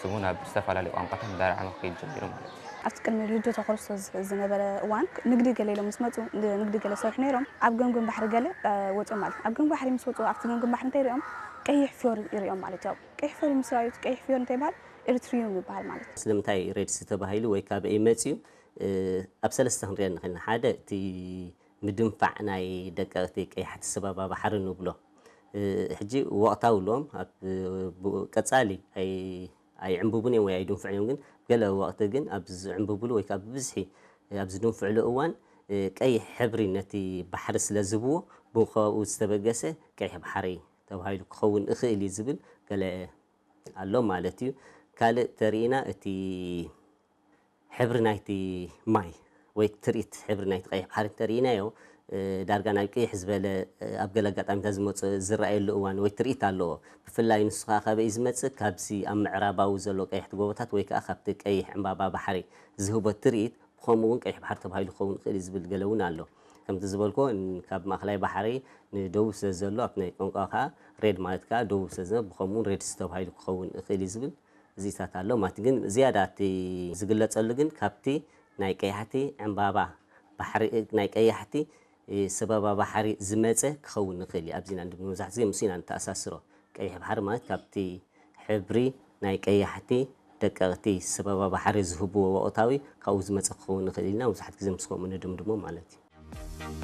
ስሙ ናብ ዝተፈላለዩ ቋንቋታት እንዳረዓመ ክኸይድ ጀሚሩ ማለት እዩ። ኣብቲ ቅድሚ ልደተ ክርስቶስ ዝነበረ እዋን ንግዲ ገለ ኢሎም ምስ መፁ ንግዲ ገለ ዝሰርሑ ነይሮም። ኣብ ገምገም ባሕሪ ገለ ወፅኦም ማለት እዩ። ኣብ ገምገም ባሕሪ ምስ ወፁ ኣብቲ ገምገም ባሕሪ እንታይ ሪኦም? ቀይሕ ፍዮሪ ይሪኦም ማለት እዩ። ቀይሕ ፍዮሪ ምስ ረኣዩ ቀይሕ ፍዮሪ እንታይ ይበሃል? ኤሪትሪዩም ይበሃል ማለት እዩ። ስለምንታይ ሬድ ሲ ተባሂሉ ወይ ካበይ መፅዩ? ኣብ ሰለስተ ክንሪኦ ንኽእል ኢና። ሓደ እቲ ምድንፋዕ ናይ ደቀቕቲ ቀያሕቲ ሰበባ ባሕሪ ንብሎ። ሕጂ ወቕታዊ ኣለዎም ኣብ ቀጻሊ ኣይዕንብቡን እዮም ወይ ኣይድንፍዑን እዮም፣ ግን ገለ ወቕቲ ግን ኣብ ዝዕንብብሉ ወይ ከዓ ብብዝሒ ኣብ ዝድንፍዕሉ እዋን ቀይሕ ሕብሪ ነቲ ባሕሪ ስለ ዝህብዎ ብኸብኡ ዝተበገሰ ቀይሕ ባሕሪ ተባሂሉ ክኸውን እኽእል እዩ ዝብል ገለ ኣሎ ማለት እዩ። ካልእ ተሪኢና እቲ ሕብሪ ናይቲ ማይ ወይ ትርኢት ሕብሪ ናይቲ ቀይሕ ባሕሪ እንተርኢናዮ ዳርጋ ናብ ቅይሕ ዝበለ ኣብ ገለ ኣጋጣሚታት ዝመፁ ዝረኣየሉ እዋን ወይ ትርኢት ኣለዎ። ብፍላይ ንሱ ከዓ ካበይ ዝመፅእ ካብዚ ኣብ ምዕራባዊ ዘሎ ቀይሕቲ ጎቦታት ወይ ከዓ ካብቲ ቀይሕ ዕምባባ ባሕሪ ዝህቦ ትርኢት ብኸምኡ እውን ቀይሕ ባሕሪ ተባሂሉ ክኸውን ይኽእል እዩ ዝብል ገለ እውን ኣሎ። ከምቲ ዝበልኩዎ ካብ ማእኸላይ ባሕሪ ንደቡብ ስለ ዘሎ ኣብቲ ናይ ቋንቋ ከዓ ሬድ ማለት ከዓ ደቡብ ስለ ዘሎ ብኸምኡ እውን ሬድሲ ተባሂሉ ክኸውን ይኽእል እዩ ዝብል እዚታት ኣሎ ማለት ግን ዝያዳ እቲ ዝግለፀሉ ግን ካብቲ ናይ ቀያሕቲ ዕምባባ ባሕሪ ናይ ቀያሕቲ ሰበባ ባሕሪ ዝመፀ ክኸውን ንኽእል እዩ። ኣብዚና እንዲ መብዛሕቲ ግዜ ምስ ኢና ንተኣሳስሮ ቀይሕ ባሕሪ ማለት ካብቲ ሕብሪ ናይ ቀያሕቲ ደቀቕቲ ሰበባ ባሕሪ ዝህብዎ ወቕታዊ ካብኡ ዝመፀ ክኸውን ንኽእል ኢልና መብዛሕቲ ግዜ ምስ ከምኡ ንድምድሞ ማለት እዩ።